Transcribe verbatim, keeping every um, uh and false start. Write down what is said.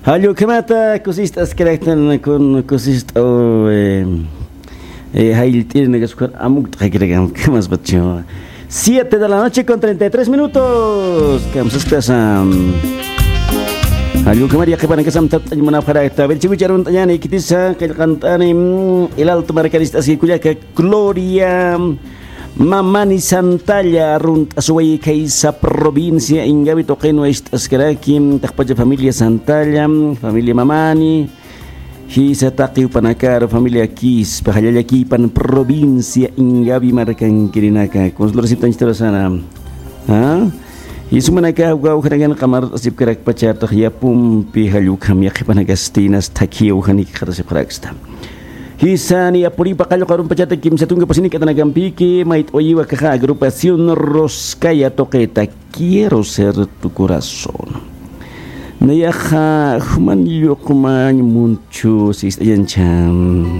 Jallukhamata kusist'askaraktan kun kusist'aw, eh, eh, jayllt'irinakas ukhar amukt'akirakam kamaspachu. Siete de la noche con treinta y tres minutos. Kamsaskasa. Jallukhamar yaqhipanakasam tapt'añ munapxarakta. Birchikucha arunt'añani ikitisa qillqant'ani, mm, El Alto markanist'aski kullaka Gloria Mamani Santalla, arunt'asuway khaysa provincia Ingavi tuqinwa ist'askaraki, taqpacha familia Santalla, familia Mamani, jisa taqi jupanakar, familia Quispa, jallallakipan provincia Ingavi markankirinaka, consular siptañchtarasana. ¿Ah? Jisumanaka jawjanakan qamart'asipkarakpachartaq yapumpi jallukham yaqhipanakasti inas thakhiyaw janikxatasipxaraksta. Jisani apuripa qallqu arumpachata kimsa tunka pasini k'atanakampiki, mayt'uyiwa kaxa agrupación Roscaya tuqita, Quiero ser tu corazón. Nayaxa juman lluqmañ munchu sist'añanchan.